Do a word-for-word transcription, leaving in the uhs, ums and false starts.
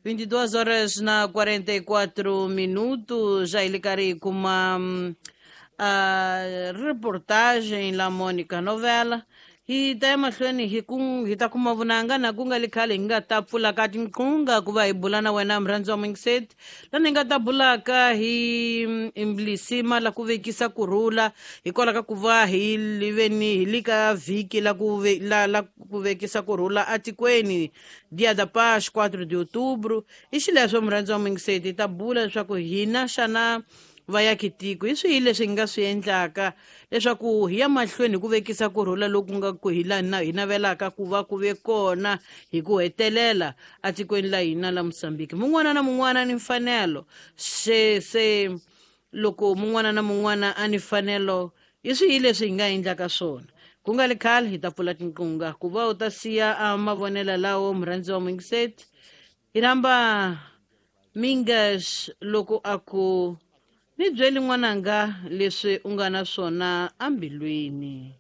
vinte e duas horas na quarenta e quatro minutos, já ele cari com uma a reportagem la Mônica Novela hi ta emahlweni hi ku hi ta kuma vunanga na ku nga li khale hi nga ta pfula ka tinqunga ku va hi bula na wena murhandzi wa Mingiseti lani hi nga ta bulaka hi lisima la ku vekisa kurhula hikwalaho ka ku va hi liveni hi li ka vhiki la ku ve, la, la ku vekisa kurhula atikweni Dia da Paz quatro de outubro. I xileswo murhandzi wa Mingiseti hi ta bula leswaku hina xana vayakitiko hi swihi leswi hi nga swi endlaka leswaku hi ya mahlweni hi ku vekisa kurhula loku nga ku hi la na hi navelaka ku va ku ve kona hi ku hetelela atikweni la hina la Mozambique. Mun'wana na mun'wana ni mfanelo se se loko mun'wana na mun'wana a ni mfanelo hi swihi leswi hi nga endlaka swona. Ku nga li khale hi ta pfula tinqunga ku va u ta siya a mavonelo lawo murhandzi wa Mingiseti. Hi rhamba Mingas loko a ku ni byeli n'wananga leswi u nga na swona ambilwini.